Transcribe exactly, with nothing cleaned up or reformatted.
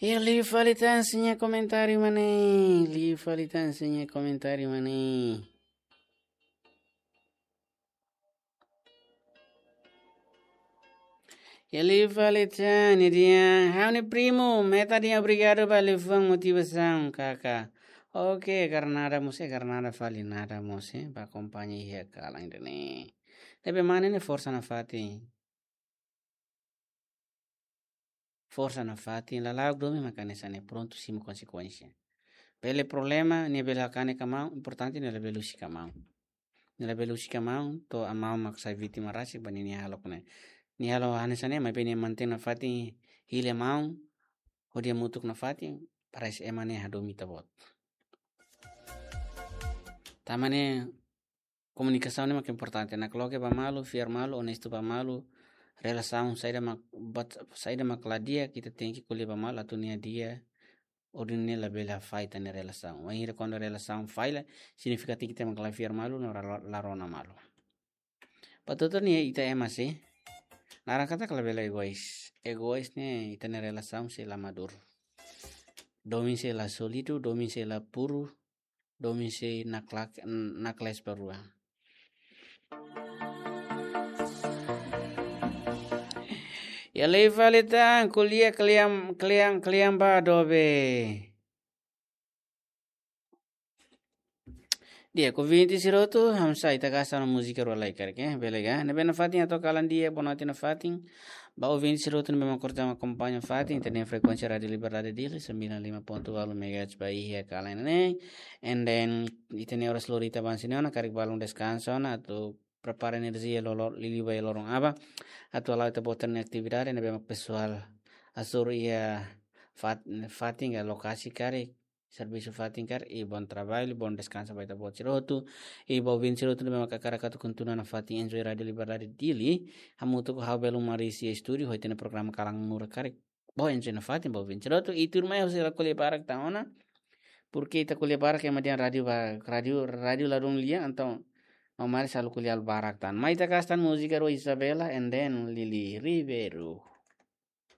Iha liu fali tan sira-nia komentáriu mak ne'e. Liu fali tan sira-nia komentáriu mak ne'e. Iha liu fali tan, nia dehan, ha'u-nia primu, meta dehan obrigadu ba liafuan motivasaun, kaka. Oke, karena ada mós, karena ada fali nada mós, eh, ba akompaña iha kalan ida-ne'e. Tapi mana ne'e forsa nafatin. Forsa nafatin, lala'ok domin maka hanesan ne'e, prontu simu konsekuénsia. Bele problema, nia bele kanek ka maun, importante nia labele husik ka maun. Nia labele husik ka maun, to'o maun mak sai vítima rasik ba nia nia hahalok ne'e. Nia halo hanesan ne'e, maibé nia mantein nafatin hili maun, hodi hamutuk nafatin, para ema ne'e hadomi ita-boot. Tanba ne'e, komunikasaun ne'e mak importante. Nakloke ba malu, fiar malu, onestu ba malu, relasaun saida mak, buat saida mak la di'ak, ita tenke ko'alia ba malu, atu nia di'ak, hodi nia labele hafahe ita-nia relasaun. Wainhira kuandu relasaun falla, signifika katak ita mak la fiar malu, no la, la rona malu. Ba to'o ne'e ita ema sei, naran katak labele egois. Egois ne'e ita-nia relasaun sei la maduru. Domin sei la sólidu, domin sei la puru, domin sei naklak-, nakles ba rua. Iha liu fali tan, ko'alia kle'an, kle'an, kle'an ba dobe. Di'ak, ouvinte sira hotu, hamsa ita gasta ona múzika rua lai karik, eh, bele ka? Ne'ebé nafatin atu kalan di'ak, boa noite nafatin. Ba ouvinte sira hotu ne'ebé mak korta akompaña fatin, ita-nia frekuénsia Rádiu Liberdade Dili, sembilan lima ponto walu megahertz ba iha kalan ne'e. And then, ita-nia oras lori ita bá hanesan ne'e ona, karik balun deskansa ona, atu prepara enerjia lolo-, liuliu ba iha loron aban. Atu hala'o ita-boot nia atividade, ne'ebé mak pesoál hasoru iha fat-, fatin ka lokasi karik, servisu fatin karik, i bon trabalho, bon deskansa ba ita-boot sira hotu, i ba ouvinte sira hotu ne'ebé mak hakarak atu kontinua nafatin enjoy Rádiu Liberdade Dili, hamutuk ho ha'u Belo Maris iha estúdiu, ho ita-nia programa Kalan Murak karik. Bá enjoy nafatin, ba ouvinte sira hotu, i tuirmai ha'u sei la ko'alia barak tan ona, porque ita ko'alia barak ema dehan rádiu ba, rádiu, rádiu ladún lia, entaun, no mari selalu ko'alia barak tan. Mai ita gasta múzika rua Isabela, and then Lili Ribeiro.